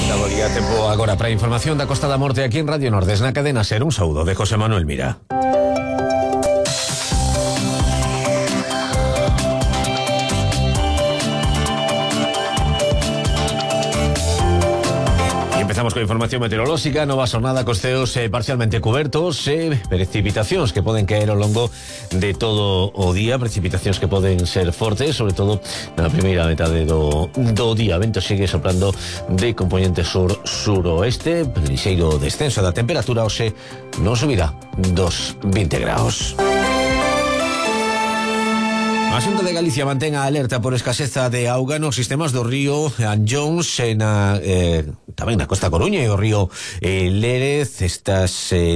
Daboría tempo agora para a información da Costa da Morte aquí en Radio Nordes na cadena SER. Un saúdo de José Manuel Mira. Empezamos con información meteorolóxica. Nova xornada cos ceos parcialmente cubertos, precipitacións que poden caer ao longo de todo o día, precipitacións que poden ser fortes, sobre todo na primeira metade do día. Vento segue soprando de componente sur-suroeste, lixeiro descenso da temperatura, hoxe non subirá dos 20 graus. A Xunta de Galicia mantén a alerta por escaseza de auga nos sistemas do río Anllóns tamén na Costa Coruña e o río Lérez. Esta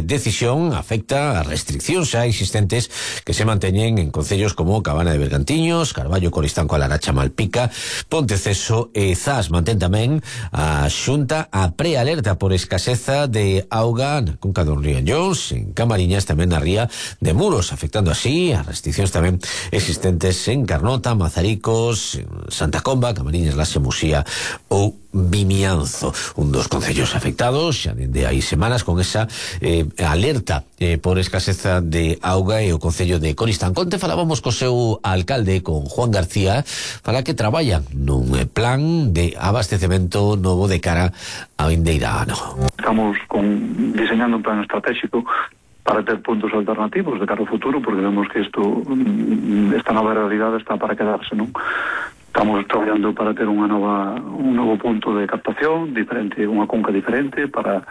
decisión afecta a restriccións xa existentes que se manteñen en concellos como Cabana de Bergantiños, Carballo, Coristanco, Alaracha, Malpica, Ponteceso e Zas. Mantén tamén a Xunta a prealerta por escaseza de auga na conca do río Anllóns, en Camariñas, tamén na ría de Muros, afectando así a restriccións tamén existentes en Carnota, Mazaricos, Santa Comba, Camariñas, Laxe, Musía ou Vimianzo, un dos concellos afectados xa dende hai semanas con esa alerta por escaseza de auga, e o concello de Coristanco. Onte falábamos co seu alcalde, con Juan García, para que traballan nun plan de abastecemento novo de cara ao vindeira ano. Estamos diseñando un plan estratégico para ter puntos alternativos de cara ao futuro, porque vemos que esta nova realidade está para quedarse, non? Estamos traballando para ter un novo punto de captación diferente, unha conca diferente para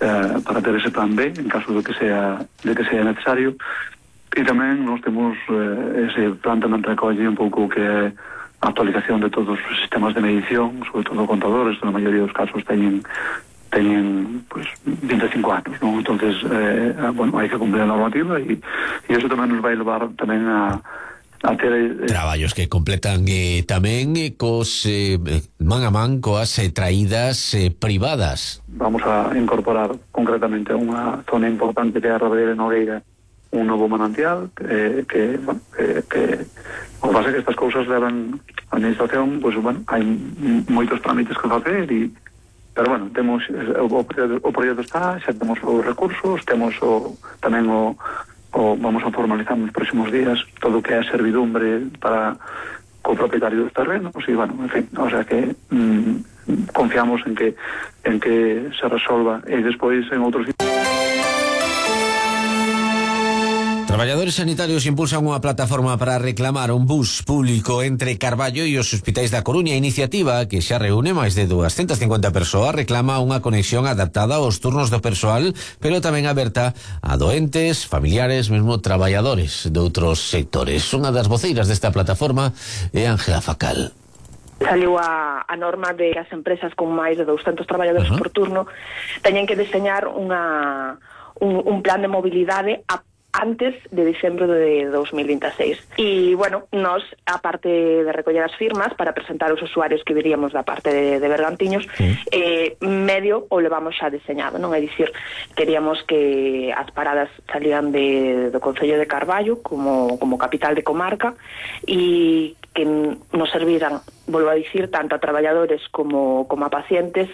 ter ese plan B en caso de que sea necesario. E tamén nos temos ese plan tamén recolle un pouco que é a actualización de todos os sistemas de medición, sobre todo contadores, na maioría dos casos teñen pues 25 anos, non? Entonces, hai que cumplir a normativa e iso tamén nos vai levar tamén a ter traballos que completan tamén cos man a man coas traídas privadas. Vamos a incorporar concretamente a unha zona importante que é a Rabeira de Nogueira un novo manantial que o que pasa é que estas cousas levan a administración, pues hai moitos trámites que facer pero bueno, temos o proxecto está, xa temos os recursos, temos tamén vamos a formalizar nos próximos días todo o que é a servidumbre para co propietario dos terrenos e bueno, en fin, o sea que confiamos en que se resolva e despois en outros. Traballadores sanitarios impulsan unha plataforma para reclamar un bus público entre Carballo e os hospitais da Coruña. A iniciativa, que xa reúne máis de 250 persoas, reclama unha conexión adaptada aos turnos do persoal, pero tamén aberta a doentes, familiares, mesmo traballadores de outros sectores. Unha das voceiras desta plataforma é Ángela Facal. Saliu a norma de que as empresas con máis de 200 traballadores por turno teñen que deseñar un plan de mobilidade antes de diciembre de 2026. E, bueno, nós, a parte de recoller as firmas para presentar os usuarios que viríamos da parte de Bergantiños, medio o levamos xa deseñado, non? É dicir, queríamos que as paradas salían do Concello de Carballo como capital de comarca e que nos serviran, volvo a dicir, tanto a traballadores como a pacientes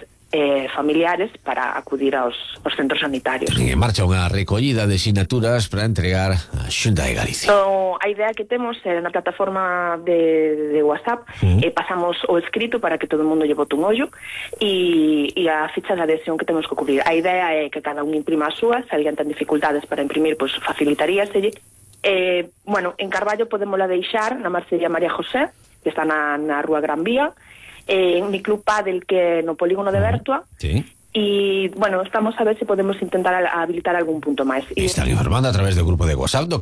familiares para acudir aos centros sanitarios. En marcha unha recollida de sinaturas para entregar a Xunta de Galicia. A idea que temos na plataforma de WhatsApp, pasamos o escrito para que todo o mundo lle bote un ollo e a ficha de adhesión que temos que cubrir. A idea é que cada un imprima a súa, se alguén ten dificultades para imprimir, pois facilitaríaselle. Bueno, en Carballo podémola deixar na Marcería María José, que está na Rúa Gran Vía, en mi club Padel, que no polígono de Bertua. Sí. E, bueno, estamos a ver se podemos intentar habilitar algún punto máis. Están informando a través do grupo de WhatsApp do